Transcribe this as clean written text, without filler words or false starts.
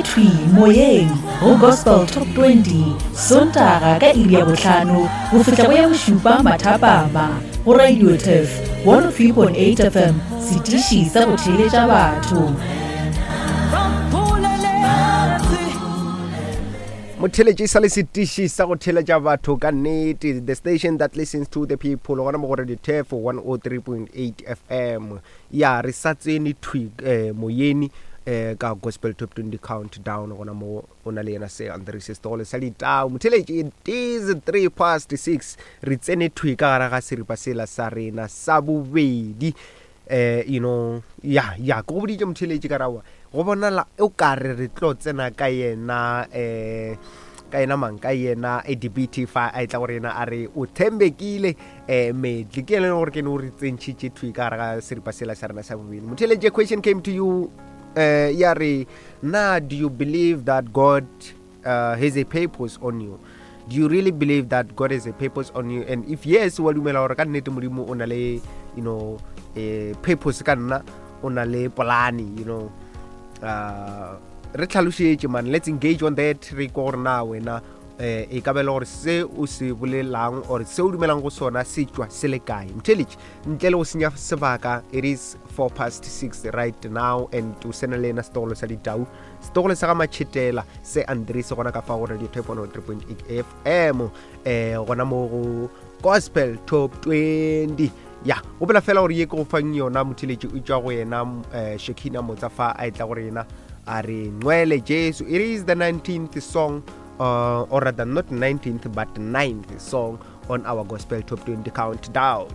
thwi moyeng go Gospel Top 20 Sontaga ka iri ya bohlano go fihla go ya bošupa mathapama go Radio Turf 103.8 FM, setiši sa go theeletša batho. Motheeletši sa le setiši sa go theeletša batho ka nnete, the station that listens to the people, gona mo go Radio Turf 103.8 FM. Ya re sa tsene thwi eh, moyeni eh, ka Gospel Top 20 Countdown gona mo o na le yena se Andres Setogolo sa Ditau. Motheeletši, it is 3 past 6, re tsene thwi ka gare ga seripa sela sa rena sa bobedi. Eh, you know, ya ya ke go boditše motheeletši ka rawa go bonala o ka re re tlo tsena ka yena eh ka yena mang ka yena ADBT fa a etla gore yena a re o thembekile eh medli ke ene gore ke ne o re tsentšhitše thwi ka gare ga seripa sela sa rena sa bobedi. Motheeletši, a question came to you eh ya re na do you believe that God uh, has a purpose on you? Do you really believe that God has a purpose on you? And if yes, wa dumela gore ka nnete Modimo o na le, you know, a purpose ka nna, o na le polane, you know. Re tlhalošetše man, let's engage on that, re kwa gore na wena eh e ka bela gore se o se bolelang or se o dumelang go sona se tšwa se le kae. Mtheletši, ntle le go senya sebaka, it is 4 past 6 right now and o sena le ena setogolo sa ditau, setogolo sa ga Matšhetela se Andres gona ka fa go Radio Type 103.8 FM, eh gona mo go Gospel Top 20. Ya gopola fela gore ye ke go fang yona motheletši o tšwa go yena eh, Shekina Motsa fa a etla gore yena a re Ngcwele Jesu. It is the 19th song, or rather not 19th but 9th song on our Gospel Top 20 Countdown.